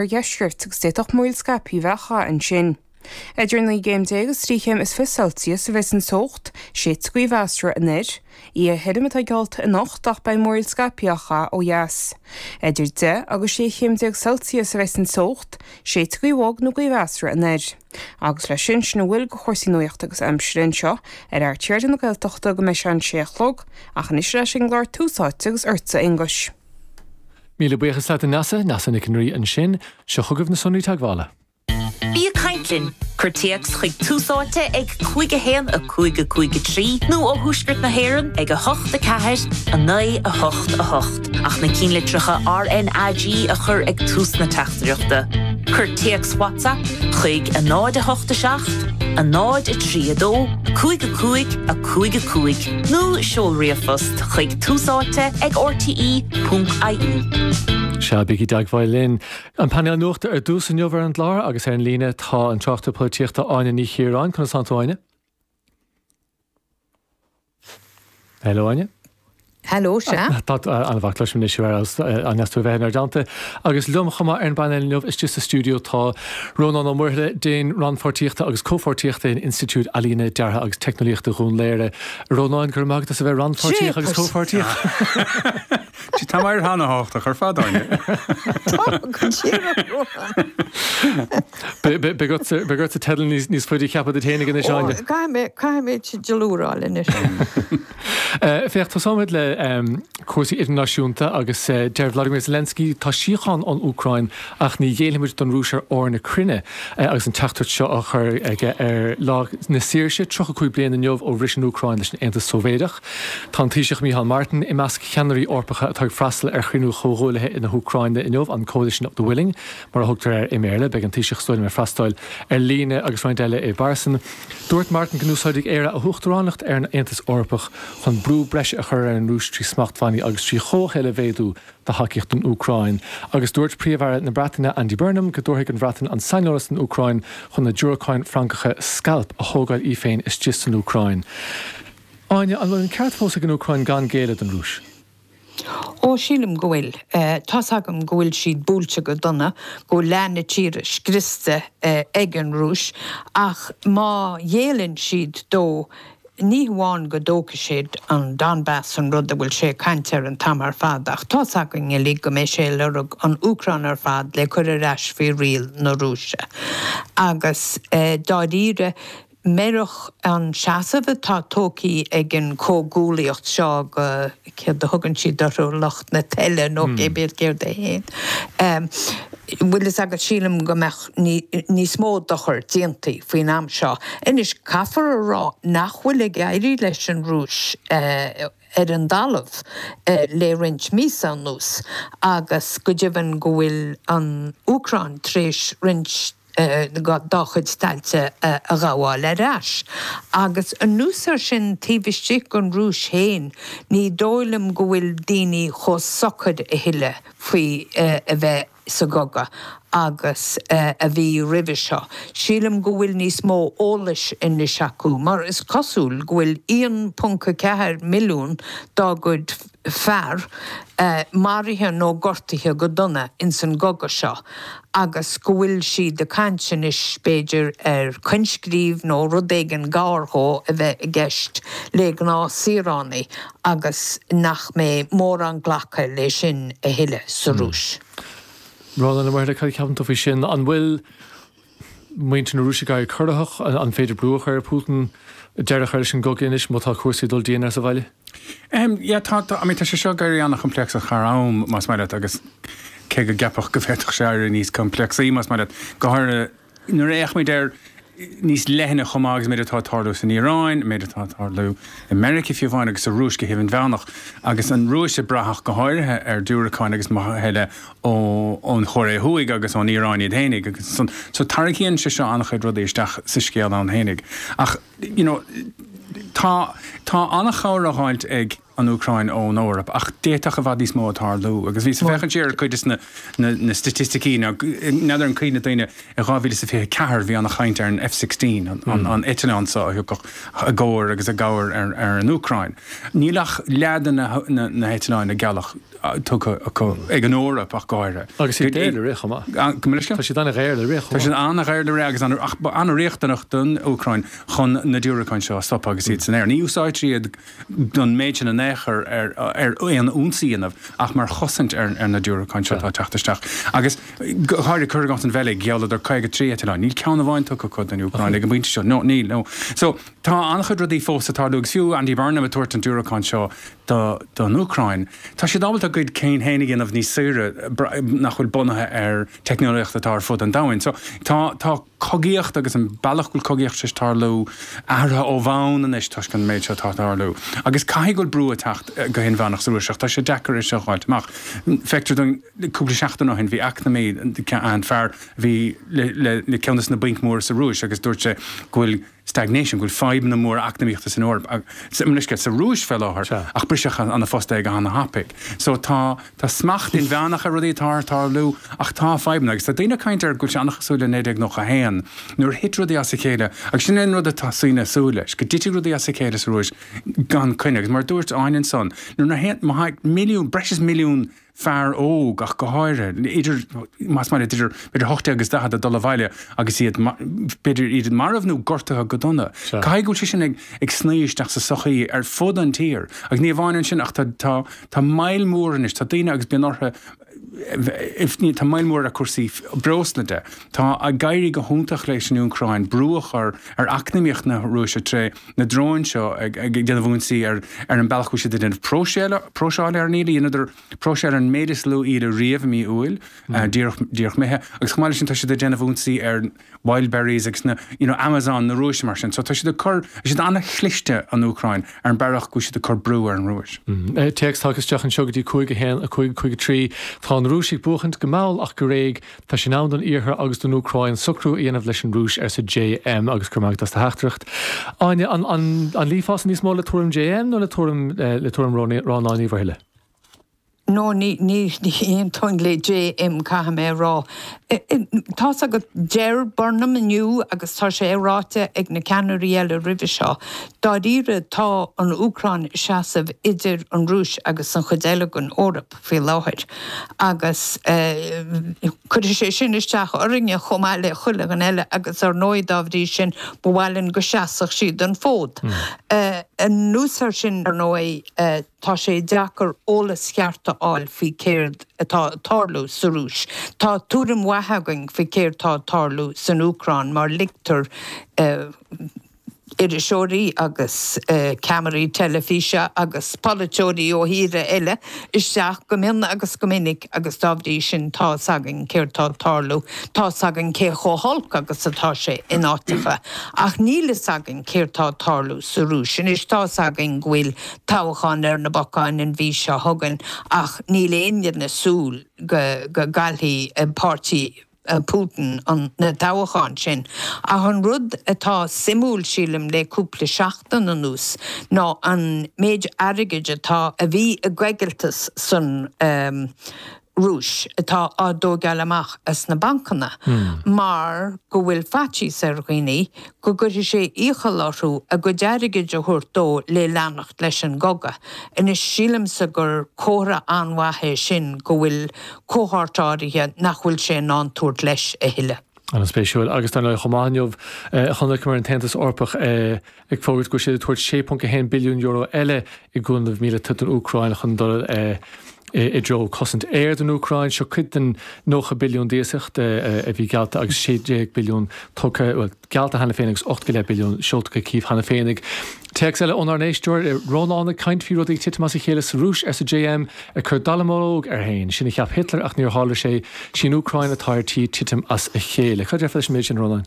Oirdheisceart agus d'fhéadfadh múraíl scaipthe a bheith á chaith ansin. Idir 19 gcéim agus 23 chéim Celsius a bheas an teocht, séidfidh gaoth mheasartha anoir. Oíche thirim atá geallta anocht ach beidh múraíl scaipthe á chaith ó dheas. Idir 10 agus 16 chéim Celsius a bheas an teocht, séidfidh gaoth bhog nó gaoth mheasartha anoir. Agus leis sin, sin a bhfuil de chúrsaí nuachta agus aimsire anseo ar RTÉ Raidió na Gaeltachta go mbeidh sé an 6 a chlog, ach anois ar ais ag an gclár Tús Áite agus ortsa a Aonghuis. Míle buíochas leat a Neasa, Neasa Nic an Rí ansin. Seo chugaibh na sonraí teagmhála. Bí ag caint linn! Cuir téacs chuig Tús Áite ag 5 1 5 5 3 nó ó Thuaisceart na hÉireann ag 8 4 9 8 8 ach na cinnlitreacha RnaG a chur ag tús na teachtaireachta. Cuir téacs WhatsApp chuig 0 8 7 0 3 2 5 5 5 5. Nó seol ríomhphost chuig Tús Áite ag rte ponc ie. Sea, bígí i dteagmháil linn. An painéal nuachta ar dtús inniu ar an gclár agus ar an líne tá an tráchtaire polaitíochta Áine Ní Chiaráin. Conas tánn tú Áine? Hello Áine. Hello, sea. Tá an-mhaith, cloisim anois thú ar fheabhas, an-deas tú a bheith inár dteannta. Agus liom chomh maith ar an bpainéal inniu istigh sa stiúideo tá Rónán Ó Muirthile, Déan Rannpháirtíochta agus Comhpháirtíochta in Institiúid Ealaíne, Deartha agus Teicneolaíochta Dhún Laoghaire. A Rónáin, go raibh maith agat as a bheith rannpháirtíoch agus comhpháirtíoch. Tá mé an-thábhachtach ar fad, Áine. Tá, go díreach, Rónán. Beidh ortsa teideal níos faide a cheapadh duit féinig anois, Áine. Caithfidh mé teideal úr a fháil anois. Féach, tosóimid le cúrsaí idirnáisiúnta agus deir Vladimir Zelensky, tá síocháin ón Úcráin ach ní ghéillfimid don Rúis ar ór na cruinne agus an teachtaireacht seo á chur aige ar Lá na Saoirse, 35 bliain inniu ó bhris an Úcráin leis an Aontas Sóivéadach. Tá an Taoiseach Micheál Martin i measc cheannairí Eorpacha atá ag freastal ar chruinniú Chomhghuaillithe na hÚcráine inniu, an Coalition of the Willing mar a thugtar air i mBéarla. Beidh an Taoiseach is dóigh liom ag freastal ar líne agus roinnt eile i bpearsan. Dúirt Martin go n-úsáidfidh Éire a huachtaránacht ar an Aontas Eorpach chun brú breise a chur ar an Rúis trí smachtbhannaí agus trí chomhthoil a mhéadú do thacaíocht don Úcráin. Agus dúirt Príomh-Aire na Breataine Andy Burnham go dtabharfaidh an Bhreatain an saineolas don Úcráin chun na diúracáin Francacha Scalp a thógáil í féin istigh san Úcráin. Áine, an bhfuil an ceart fós ag an Úcráin gan géilleadh don Rúis? Ó, sílim go bhfuil. Tá's agam go bhfuil siad buailte go dona, go bhfuil leath na tíre scriosta ag an Rúis, ach má ghéilleann siad dó, ní hamháin go dtógfaidh siad an Donbas, an rud a bhfuil sé ag caint air an t-am ar fad, ach tá's againn uilig go mbeidh sé ag lorg an Úcráin ar fad le cur ar ais faoi riail na Rúise. Agus dáiríre, murach an seasamh atá tógtha ag an chomhghuaillíocht seo go, céard a thugann siad orthu, lucht na toile nó cé bith céard é féin, bhfuil fhios agat, sílim go mbeadh níos mó dochair déanta faoin am seo. Anois, caithfear a rá nach bhfuil ag éirí leis an Rúis ar an dtalamh le roinnt míosa anuas agus go deimhin go bhfuil an Úcráin tar éis roinnt dá chuid tailte a ghabháil ar ais. Agus anuas air sin, taobh istigh den Rúis féin, ní dóigh liom go bhfuil daoine chomh socair a thuilleadh faoi a bheith sa gcogadh agus a bhí roimhe seo. Sílim go bhfuil níos mó eolais anois acu, mar is cosúil go bhfuil 1.4 milliún dá gcuid fear maraithe nó gortaithe go dona ins an gcogadh seo agus go bhfuil siad ag caint anois b'fhéidir ar coinscríobh nó rud éigin gar dhó a bheith i gceist le gnáth-saoránaigh agus nach mbeidh mórán glactha le sin a thuilleadh sa Rúis. Rónán Ó Muirthile, cad a cheapann tú faoi sin? An bhfuil muintir na Rúise ag éirí corraitheach? An féidir brú a chur ar Putin deireadh a chur leis an gcogadh anois má tá cúrsaí ag dul dian air sa bhaile? Yeah, tá, tá, I mean, tá sé seo ag éirí an-choimpléacsach thar am, más maith leat, agus cé go gceapfadh go bhféadfadh sé éirí níos coimpléacsaí, más maith leat, go háirithe nuair a fhéachaimid air níos leithne chomh maith agus an méid atá ag tarlú san Iaráin, an méid atá ag tarlú i Meiriceá fiú amháin agus sa Rúis go hidirmheánach, agus an Rúis ag brath go háirithe ar diúracáin agus maithe eile ón Chóiré Thuaidh agus ón Iaráin iad fhéinig agus san. So tarraingíonn sé seo an-chuid rudaí isteach sa scéal ann fhéinig. Ach, you know, tá, tá an-chabhair á dh'fháilt ag an Úcráin ón Eoraip ach d'fhéadfadh i bhfad níos mó a tarlú. Agus bhíos ag féachaint siar ar cuid de na, na, na staitisticí, nó n'fheadar an cuimhin le daoine, i 2024 bhí an-chaint ar an F-16, an, an, an eitleán seo a thiocfadh i gcomhar agus i gcabhair ar, ar an Úcráin. Níl ach leath de na, na, na heitleáin a gealladh. tugtha acu ag an Eoraip ach go háirithe. Agus iad daor le rith chomh maith. Gabh mo leithscéal? Tá siad an-dhaor le rith chomh maith. Tá siad an-dhaor le rith agus ach an-riachtanach don Úcráin chun na diúracáin seo a stopadh agus iad san aer. Ní úsáidtear iad don méid sin in aon chor ar aon ionsaí a dhéanamh ach mar chosaint ar na diúracáin seo atá ag teacht isteach. Agus go háirithe, cuir i gcás an Bheilg, ghealladar 53 eitleán. Níl ceann amháin tugtha acu don Úcráin ag an bpointe seo. No, níl, no. So, tá an-chuid rudaí fós ag tarlú agus fiú Andy Burnham ag tabhairt an diúracán seo don Úcráin, tá siad ábalta a gcuid cinn féin a dhéanamh níos saoire nach bhfuil bunaithe ar teicneolaíocht atá ar fud an domhain. So, tá, tá cogaíocht agus an bealach go bhfuil cogaíocht tar éis tarlú athraithe ó bhonn anois toisc an méid seo atá ag tarlú. Agus caithfidh go bhfuil brú ag teacht go hinmheánach sa Rúis ach tá sé deacair é seo a fháilt amach. Feictear dúinn cúpla seachtain ó shin bhí eacnamaí, an fear a bhí le ceann de na bainc mhóra sa Rúis agus dúirt sé go bhfuil stagnation, go bhfuil fadhbanna móra eacnamaíochta san Eoraip, sa Rúis fé láthair, ach briseadh ina phost é go hana-thapaidh. So tá, tá smacht inmheánach ar rudaí atá ag tarlú ach tá fadhbanna agus tá daoine ag caint ar go bhfuil sé an-chosúil le 1991 nuair a thit rudaí as a chéile agus sin é an rud atá daoine ag súil leis, go dtitfidh rudaí as a chéile sa Rúis gan coinne agus mar a dúirt Áine ansan, nuair a théann, má tá milliún, breis is milliún fear óg ach go háirithe, idir, más maith leat, idir, b'fhéidir 18 agus 40 ag dul abhaile agus iad, b'fhéidir iad marbh nó gortaithe go dona. Caithfidh go bhfuil sé sin ag, ag snoí isteach sa sochaí ar fud an tír. Agus ní amháin ansin ach tá, tá, tá moill mhór anois, tá daoine agus bíonn orthu, tá moill mhór ar cúrsaí breosla de. Tá ag éirí go hiontach leis an Úcráin brú a chur ar eacnamaíocht na Rúise tré na dróin seo ag déanamh ionsaí ar an bealach go bhfuil siad ag déanamh próiseáil ar an íle. Dheineadar próiseáil ar an méid is lú íle riamh i mí Iúil, díreach imithe. Agus chomh maith leis sin tá siad ag déanamh ionsaí ar Wildberries agus na, you know, Amazon na Rúise mar sin. So tá siad ag cur, tá siad an-chliste an Úcráin ar an bealach go bhfuil siad ag cur brú ar an Rúis. Téacs tagtha isteach anseo go dtí 5 1 5 5 3. Tá an Rúis ag buachaint go mall ach go réidh. Tá sé in am don Iarthar agus don Úcráin socrú a dhéanamh leis an Rúis, arsa JM agus go raibh maith agat as do theachtaireacht. Áine, an, an, an luífeása níos mó le tuairim JM nó le tuairim, le tuairim Rónáin Ní Mhuirthile? No, ní, ní, ní aontóinn le JM, caithfidh mé a rá. Tá's agat, deir Burnham inniu, agus tá sé ráite ag na ceannairí eile roimhe seo, dáiríre tá an Úcráin ag seasamh idir an Rúis agus an chuid eile den Eoraip. faoi láthair agus cuirfidh sé sin isteach orainne chomh maith le chuile dhuine eile agus ar ndóigh dá bhrí sin ba mhaith linn go seasfadh siad an fód. Anuas air sin ar ndóigh tá sé deacair eolas cheart a fháil faoi céard atá ag tarlú sa Rúis. Tá tuairim mhaith againn faoi céard tá ag tarlú san Úcráin mar ligtear iriseoirí agus ceamaraí teilifíse agus polaiteoirí ó thíortha eile isteach go mion agus go minic agus dá bhrí sin tá fhios againn céard tá ag tarlú, tá fhios againn cé chomh holc agus atá sé in áiteacha. Ach níl fhios againn céard tá ag tarlú sa Rúis. Anois tá fhios againn go bhfuil toghchán ar na bacáin an mhí seo chugainn ach níl éinne ag súil go gcaillfidh páirtí Putin na toghcháin sin. Ach an rud atá suimiúil, sílim, le cúpla seachtain anuas ná an méid airgid atá, a bhí i gcoigilteas san Rúis, atá á dtóigeáil amach as na bancanna mar go bhfuil faitíos ar dhaoine go gcuirfidh sé iachall orthu a gcuid airgid a thabhairt dó le leanacht leis an gcogadh. Anois, sílimse gur comhartha an-mhaith é sin go bhfuil cohórt áirithe nach bhfuil sé in ann tabhairt leis a thuilleadh. An-spéisiúil. Agus dar ndóigh chomh maith inniu chonaiceamar an tAontas Eorpach ag fógairt go bhfuil siad ag tabhairt €6.1 billiún eile i gcúnamh míleata don Úcráin chun dul i dtreo cosaint aeir don Úcráin. Seo cuid den 90 billiún d'iasacht a bhí geallta agus 16 billiún tugtha, bhuel, geallta cheana féin agus 8 go leith billiún seolta go Cív cheana féin. Ag téacs eile ónár n-éisteoir, Rónán ag caint faoi rudaí ag titim as a chéile sa Rúis, arsa JM, ag cur dallamullóg air féin. Sin a cheap Hitler ach níor tharla sé. Sí an Úcráin atá ar tí titim as a chéile. Cad a déarfá leis an méid sin, a Rónáin?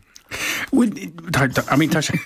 Bhuel, tá, I mean, tá sé,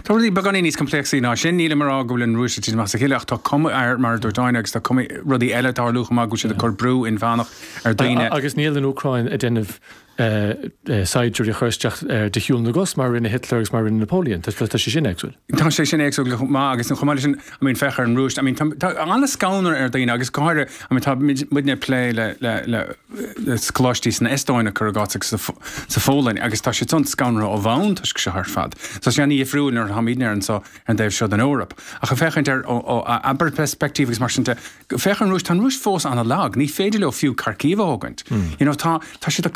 tá rudaí beagáinín níos coimpléacsaí ná sin. Nílim ag rá go bhfuil an Rúis ag titim as a chéile ach tá cuma air, mar a dúirt Áine, agus tá cuma rudaí eile ag tarlú chomh maith go bhfuil siad ag cur brú inmheánach ar dhaoine. Agus níl an Úcráin ag déanamh. Saighdiúirí a chur isteach de shiúl na gcos mar a rinne Hitler agus mar a rinne Napoleon. Tá sé sin éagsúil. Tá sé sin éagsúil chomh maith agus chomh maith leis sin, I mean, féach ar an Rúis, I mean, tá an-scanradh ar dhaoine agus go háirithe, I mean, tá muidne ag plé le, le, le, le coláistí san Eastóin cuir i gcás agus sa, sa Pholainn agus tá siad san scanraithe ó bhonn toisc seo ar fad. So tá sé an-dhifriúil nuair atáimidne ar anseo ar an dtaobh seo den Eoraip. Ach ag féachaint ar ó, ó abair peirspictíocht agus mar sin de, Féach ar an Rúis, tá an Rúis fós an-lag, ní féidir leo fiú Kharkiv a thógaint. You know, tá, tá siad ag.